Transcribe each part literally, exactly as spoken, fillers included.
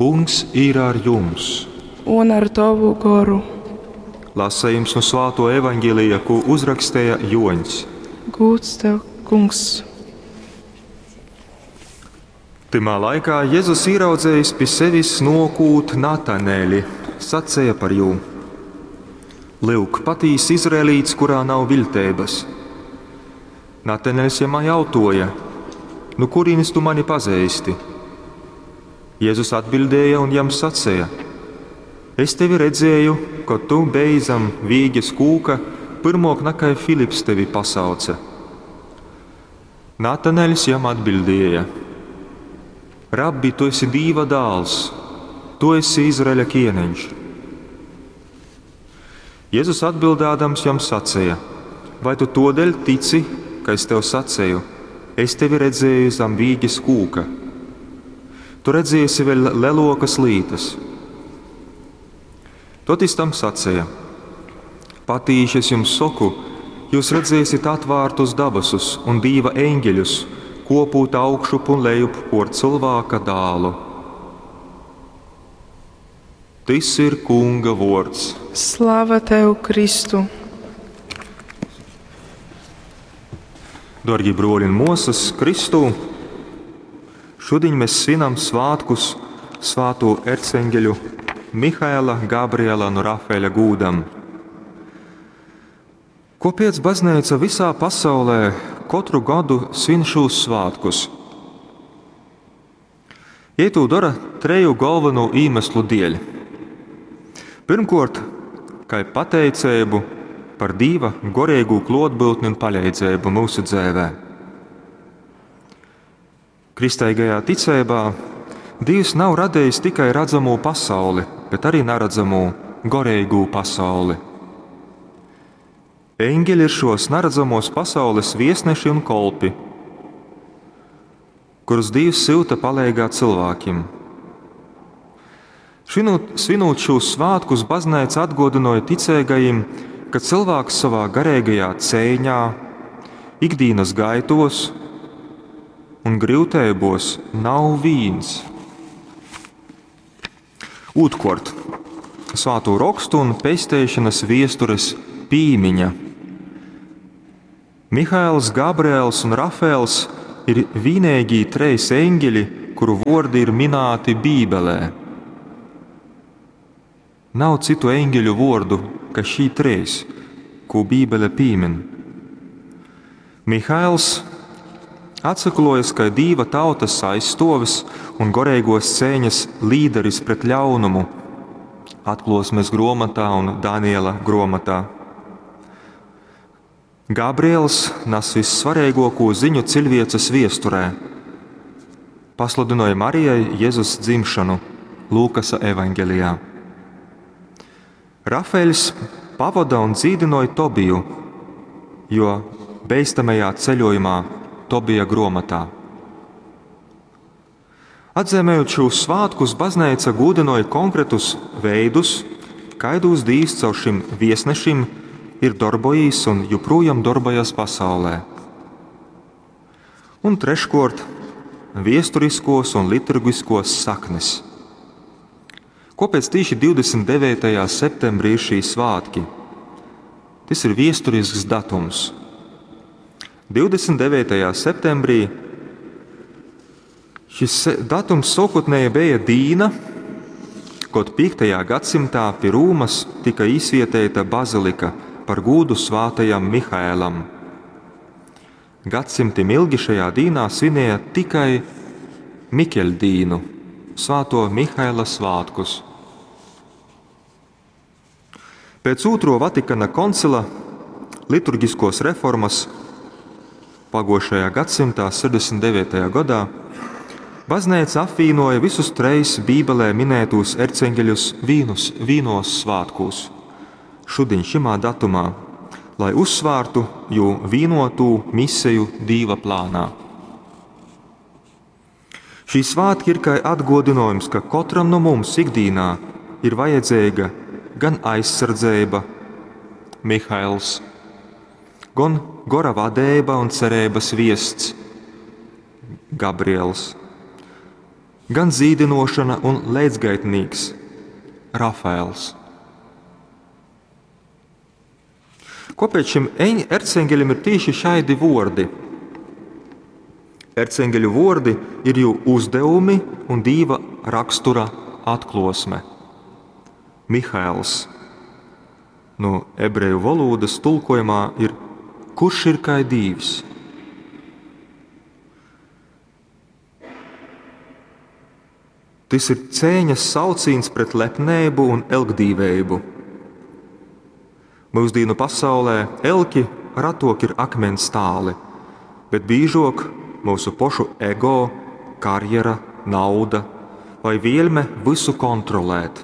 Kungs ir ar jums! Un ar tovu goru. Lasījums no Svāto evaņģēlija, ko uzrakstīja Joņs. Gūds tev, Kungs! Tymā laikā Jēzus ieraudzējis pi sevis nokūt Natanēļi, sacēja par jū: Lyuk, patīs izraelīts, kurā nav viļteibas. Natanēļs jam jautoja: Nu kurienes tu mani pazeisti? Jēzus atbildēja un jam sacēja: Es tevi redzēju, kad tu beji zem vīges kūka, pyrmok nakai Filips tevi pasauce. Natanēļs jam atbildēja: Rabbi, tu esi Dīva dāls, tu esi Izraeļa kieneņš. Jēzus atbildādams jam sacīja: Vai tu todēļ tici, ka es tev sacīju, es tevi redzēju zem vīges kūka? Tu redziesi vēl lelokas lītas. Tot jis tam sacīja: Patīši es jums saku, jūs redzēsiet atvārtus dabasus un Dīva eņģeļus, kopūt augšup un lejup por cilvēka dālu. Tys ir Kunga vords. Slava tev, Kristu! Dārgie broļi un mosas Kristū, šodien mēs svinam svētkus svāto erceņģeļu Mihaela, Gabriela un Rafaeļa gūdam. Kāpēc baznīca visā pasaulē katru gadu svin šos svētkus? Jei to dara treju galveno iemeslu dēļ. Pirmkārt, kā pateicību par Dīva gorīgu klotbūtni un palīdzību mūsu dzīvē. Kristīgajā ticībā Dievs nav radījis tikai redzamo pasauli, bet arī neredzamo gorīgo pasauli. Eņģeļi ir šos neredzamos pasaules viesneši un kolpi, kurus Dievs syuta palīgā cilvēkiem. Svinot, svinot šos svētkus, baznīca atgodināja ticīgajiem, ka cilvēks savā garīgajā cīņā, ikdienas gaitos un grūtībos nav vīns. Otrkārt, svāto rakstu un pesteišanas viestures pīmiņa. Mihails, Gabriels un Rafaels ir vienīgī treis eņģeļi, kuru vordi ir minēti Bībelē. Nav citu eņģeļu vordu, ka šī treis, ko Bībele pīmin. Mihails atsaklojas kā Dīva tautas aizstovis un gorīgos cēņas līderis pret ļaunumu, atklosmes grāmatā un Daniela grāmatā. Gabriels nes vissvarīgāko ziņu cilvēces viesturē. Pasludināja Marijai Jēzus dzimšanu Lūkasa evaņģelijā. Rafaeļs pavada un dzīdināja Tobiju, jo beistamajā ceļojumā Tobija grāmatā. Atzīmējot šos svētkus, baznīca gudinoja konkrētus veidus, kaidos Dīvs caur šim viesnešim ir darbojis un joprojām darbojas pasaulē. Un treškārt, viesturiskos un liturgiskos saknes. Kāpēc tieši divdesmit devītajā septembrī ir šī svētki? Tas ir viesturisks datums. divdesmit devītajā septembrī šis datums sākotnēji bija dīna, kad piektajā gadsimtā pie Rūmas tika izvietēta bazilika par gūdu svātajam Mihaēlam. Gadsimtiem ilgi šajā dīnā svinēja tikai Mikeļdīnu, svāto Mihaela svētkus. Pēc Otro Vatikana koncila liturgiskos reformas pagošajā gadsimtā, sešdesmit devītajā gadā, baznīca apvienoja visus treis Bībelē minētos erceņģeļus vīnus, vīnos svētkos. Šodien šimā datumā, lai uzsvārtu jū vīnotū misiju Dīva plānā. Šī svētki ir kā atgodinājums, ka katram no mums ikdienā ir vajadzīga gan aizsardzība, Mihails, gan gora vadība un cerības viests, Gabriels, gan dzīdinošana un leidzgaitnīks Rafaels. Kāpēc šim erceņgeļam ir tieši šādi vordi? Erceņgeļu vordi ir jū uzdevumi un Dīva rakstura atklosme. Mihaels no ebreju valodas tulkojumā ir kurš ir kai Dīvs? Tys ir cēņas saucīns pret lepnību un elgdīvējumu. Mūsdīnu pasaulē elki ratok ir akmens tāli, bet bīžok mūsu pošu ego, karjera, nauda vai vielme visu kontrolēt.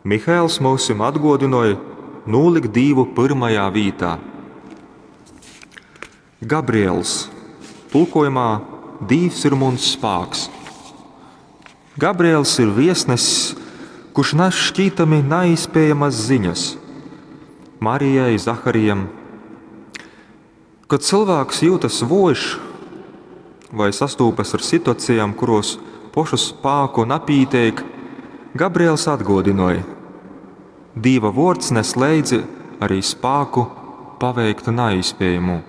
Mihaels mūsim atgodināja nolikt Dīvu pirmajā vītā. Gabriels tulkojumā Dīvs ir muns spāks. Gabriels ir viesnesis, kurš nes šķītami neizspējamas ziņas Marijai, Zaharijam. Kad cilvēks jūtas vojš vai sastūpas ar situācijām, kuros pošu spāku napīteik, Gabriels atgodināja: Dīva vords nes leidzi arī spāku paveikt neizspējamu.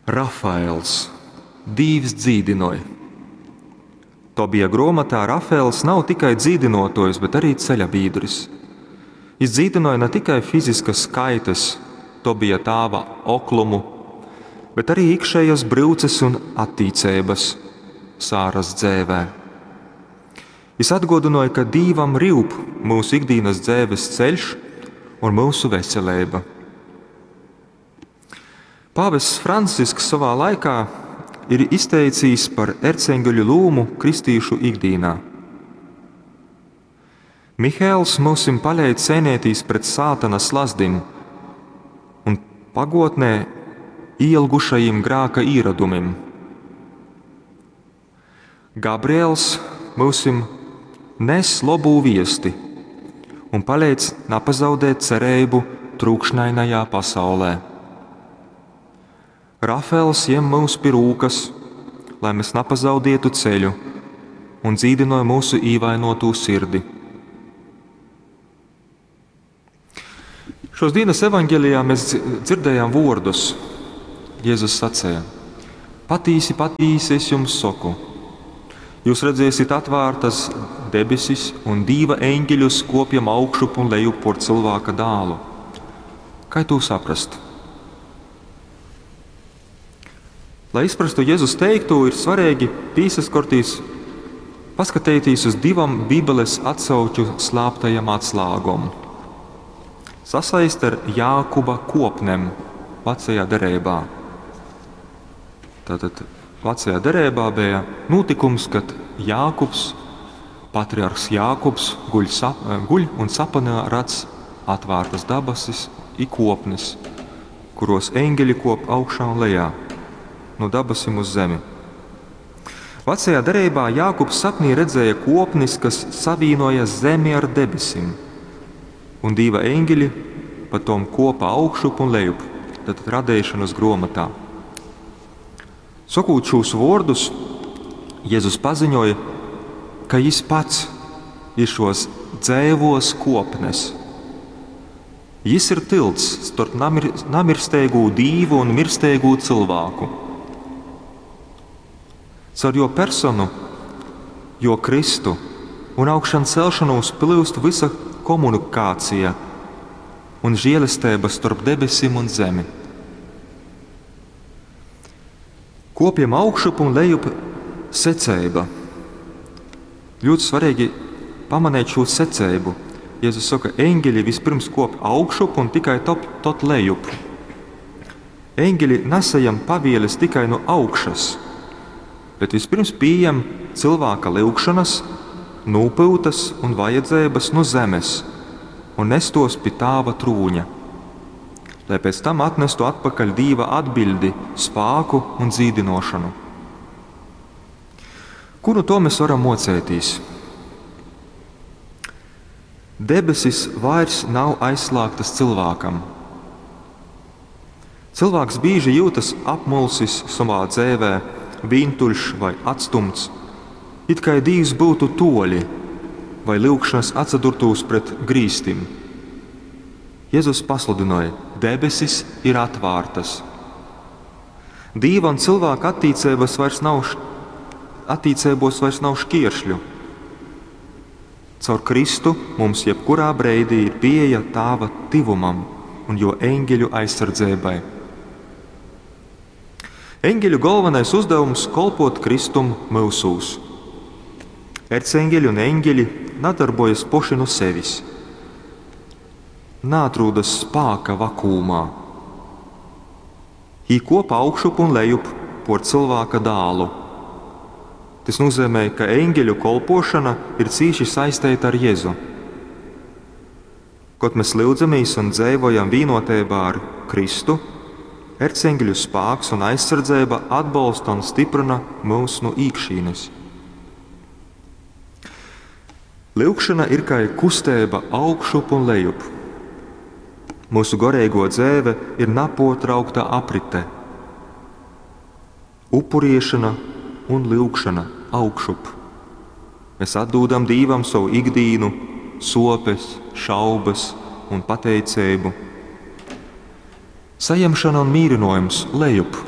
Rafaels Dīvs dzīdinoja. Tobija grāmatā Rafaels nav tikai dzīdinotojs, bet arī ceļa biedrs. Viņš dzīdinoja ne tikai fiziskas skaitas, Tobija tāva oklumu, bet arī iekšējas brūces un attīcības Sāras dzēvē. Viņš atgodināja, ka Dīvam rūp mūsu ikdienas dzēves ceļš un mūsu veselība. Pāvests Francisks savā laikā ir izteicis par erceņgeļu lūmu kristīšu ikdienā. Mihēls mūsim paļēj cēnētīs pret sātana slazdim un pagotnē ielgušajiem grāka īradumim. Gabriels mūsim nes lobū viesti un palīdz napazaudēt cerību trūkšņainajā pasaulē. Rafaels jem mūs pie rūkas, lai mēs napazaudētu ceļu un dzīdināja mūsu īvainotū sirdi. Šos dienas evaņģēlijā mēs dzirdējām vārdus. Jēzus sacīja: Patīsi, patīsi, es jums saku, jūs redzēsiet atvērtas debesis un Dīva eņģeļus kopjam augšup un lejup por cilvēka dālu. Kā to saprast? Lai izprastu Jēzus teikto, ir svarīgi pīsaskortīs, paskatīties uz divam Bībeles atsauču slāptajam atslāgom. Sasaist ar Jākuba kopnem vecajā derībā. Tātad vecajā derībā bija notikums, kad Jākubs, patriarhs Jākubs, guļ, sap, guļ un sapanā redz atvērtas dabasis i kopnes, kuros eņģeļi kop augšā un lejā, no dabasim uz zemi. Vecajā derībā Jākubs sapnī redzēja kopnis, kas savīnoja zemi ar debesim, un Dīva eņģeļi pa tom kopa augšup un lejup, tātad radēšanas grāmatā. Sakot šos vārdus, Jēzus paziņoja, ka jis pats ir šos dzēvos kopnes. Jis ir tilts starp namir, namirstēgu dīvu un mirstēgu cilvēku. Caur jo personu, jo Kristu un augšan celšanos plūst visa komunikācija un žēlastība starp debesim un zemi. Kopjam augšup un lejup secība. Ļoti svarīgi pamanīt šo secību. Jēzus saka, eņģeļi vispirms kop augšup un tikai top, tot lejup. Eņģeļi nesajam pavieles tikai no augšas, bet vispirms pieejam cilvēka lūgšanas, nopūtas un vajadzības no zemes un nestos pie tāva trūņa, lai pēc tam atnestu atpakaļ Dīva atbildi, spāku un dzīdinošanu. Ko no to mēs varam mocēties? Debesis vairs nav aizslēgtas cilvēkam. Cilvēks bieži jūtas apmulsis savā dzīvē, vīntuļš vai atstumts, it kai Dīvs byutu tuoļi vai lyugšonys atsadurtūs pret grīstim. Jezus pasludynoj, debesis ir atvārtys. Dīva un cylvāka attīceibys vairs nav, attīceibuos vairs nav škieršļu. Caur Kristu mums jebkurā breidī ir pieeja Tāva tyvumam un juo eņgeļu aizsardzeibai. Eņgeļu golvonais uzdevums kolpot Kristum myusūs. Erceņgeļi un eņgeļi nadarbojas poši nu sevis. Naatrūdas spāka vakuumā. Jī kop augšup un lejup por cylvāka dālu. Tys nozīmē, ka eņgeļu kolpošana ir cīši saisteita ar Jezu. Kod mēs lyudzamīs un dzeivojam vīnoteibā ar Kristu, erceņgeļu spāks un aizsardzeiba atbolsta un stiprina mūs nu īkšīnes. Lyugšana ir kai kusteiba augšup un lejup. Mūsu goreiguo dzeive ir napuortraukta aprite. Upuriešana un lyugšana augšup. Mēs atdūdam Dīvam savu ikdīnu, sopes, šaubas un pateiceibu. Sajemšana un mīrynojums lejup.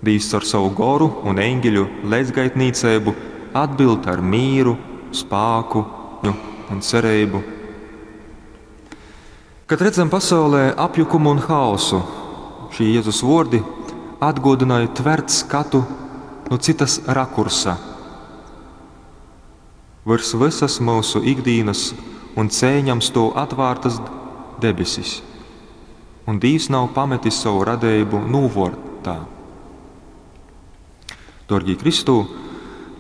Dīvs caur savu goru un eņģeļu leidzgaitnīceibu atbild ar mīru, spāku un cereibu. Kad redzam pasaulē apjukumu un haosu, šī Jēzus vordi atgodināja tvert skatu no citas rakursa. Virs visas mūsu ikdienas un cēņam stāv atvērtas debesis, un Dievs nav pametis savu radību nūvortā. Dārgie Kristū,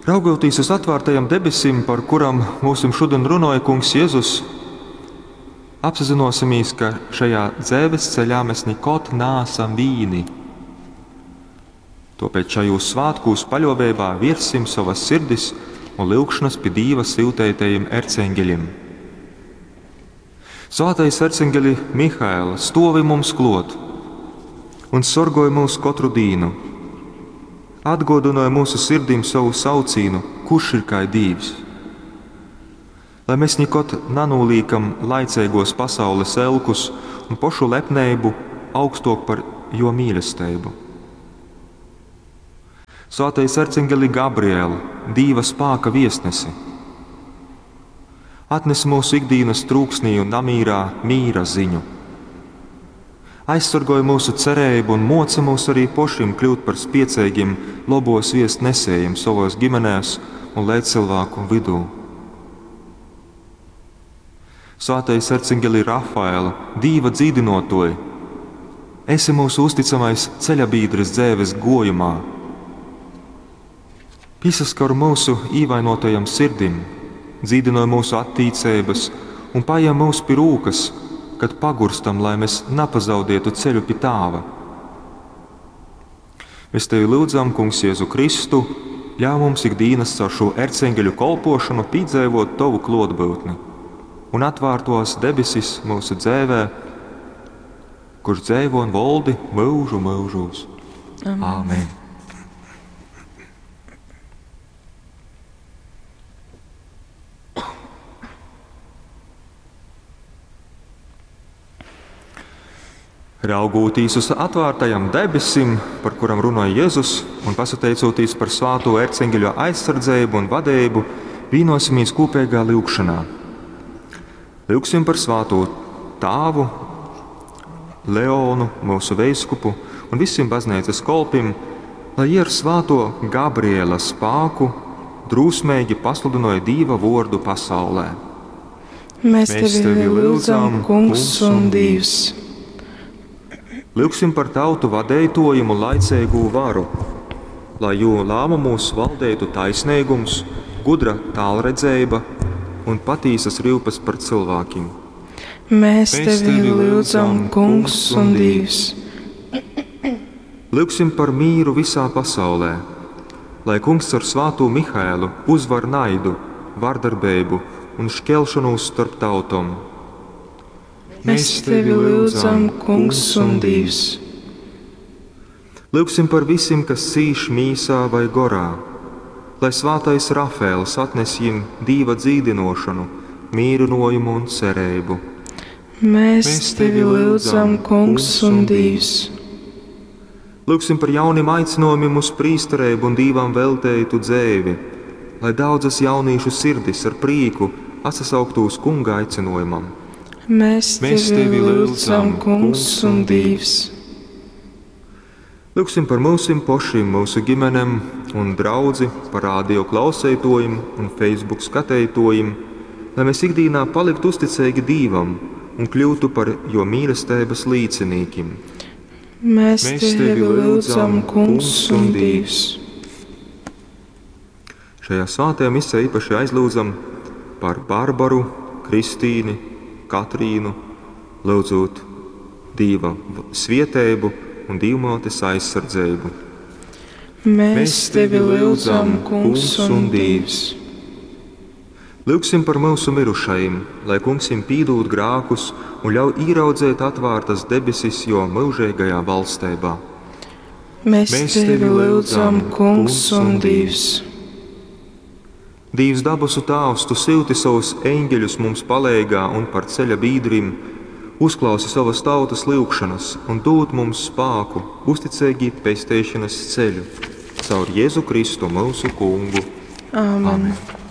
raugoties uz atvērtajam debesim, par kuram mūsim šodien runāja Kungs Jēzus, apzinosimies, ka šajā dzēves ceļā mēs nekad nāsam vīni. Tāpēc šajos svētkos paļāvībā virsim savas sirdis un lūgšanas pie Dieva siltētajiem erceņģeļiem. Svētais erceņģeli Mihaela, stovi mums klot un sorgoj mūs katru dīnu. Atgodināja mūsu sirdīm savu saucīnu, kurš ir kā Dievs. Lai mēs nekad nanūlīkam laicīgos pasaules elkus un pošu lepnību augstok par jo mīlestību. Svētais ercengeli Gabriel, Dīva spāka viesnesi, atnes mūsu ikdienas trūksnī un namīrā mīra ziņu. Aizsargoja mūsu cerību un moca mūs arī pošim kļūt par spiecīgiem lobos viest nesējiem savos ģimenēs un līdzcilvēku vidū. Svētais ercengeli Rafaela, Dīva dzīdinotoji, esi mūsu uzticamais ceļabīdris dzēves gojumā. Piesaskar mūsu īvainotajam sirdim, dzīdinoja mūsu attīcības un paņem mūs pie rūkas, kad pagurstam, lai mēs napazaudētu ceļu pie Tāva. Mēs tevi lūdzam, Kungs Jēzu Kristu, ļauj mums ikdienas caur šo erceņģeļu kolpošanu piedzīvot tavu klotbūtni un atvērtos debesis mūsu dzēvē, kurš dzēvo un valdi mūžu mūžos. Amen. Āmen. Raugūtīs uz atvērtajam debesim, par kuram runāja Jēzus, un pasateicoties par svāto erceņģeļu aizsardzību un vadību, vienosimies kopīgā lūgšanā. Lūgsim par svāto tāvu, Leonu, mūsu veiskupu un visiem baznīcas kolpim, lai jie ar svāto Gabriela spāku drūsmīgi pasludināja Dīva vordu pasaulē. Mēs tevi lūdzam, Kungs un Dievs. Lūgsim par tautu vadētojumu un laicīgu varu, lai jo lēmumos valdētu taisnīgums, gudra tālredzēba un patīsas rūpes par cilvēkiem. Mēs tevi lūdzam, Kungs un Dievs. Lūgsim par mīru visā pasaulē, lai Kungs ar svāto Mihaelu uzvar naidu, vardarbību un šķelšanos starp tautom. Mēs tevi lūdzam, Kungs un Dievs. Lyugsim par vysim, kas cīš mīsā vai gorā, lai svātais Rafaels atnes jim Dīva dzīdynōšonu, mīrynōjumu un cereibu. Mēs, Mēs tevi lyudzam, Kungs un Dīvs. Lyugsim par jaunim aicinōjumim uz prīstereibu un Dīvam velteitu dzeivi, lai daudzas jaunīšu sirdis ar prīku atsasauktu uz Kunga aicynōjumam. Mēs, Mēs tevi lyudzam, Kungs un Dīvs. Lyugsim par myusim pošim, myusu gimenem un draudzi, par radio klauseitōjim un Facebook skateitōjim, lai mēs ikdīnā paliktu uzticeigi Dīvam un kļūtu par Jō mīlesteibas līcinīkim. Mēs, Mēs tevi lyudzam, Kungs un Dīvs. Šajā svētajā misē īpaši aizlūdzam par Barbaru, Kristīni, Katrīnu, lyudzūt Dīva svieteibu un Dīvmōtes aizsardzeibu. Mēs, Mēs tevi lyudzam, Kungs un Dīvs. Lyugsim par myusu mirušajim, lai Kungs jim pīdūd grākus un ļauj īraudzēt atvārtas debesis jo myužeigajā valsteibā. Mēs, Mēs tevi lyudzam, Kungs un Dīvs. Dīvs dabasu Tāvs, Tu syuti savus eņģeļus mums paleigā un par ceļa bīdrim, uzklausi savas tautas lyugšanas un dod mums spāku uzticeigi pesteišanas ceļu caur Jēzu Kristu mūsu Kungu. Āmen. Amen.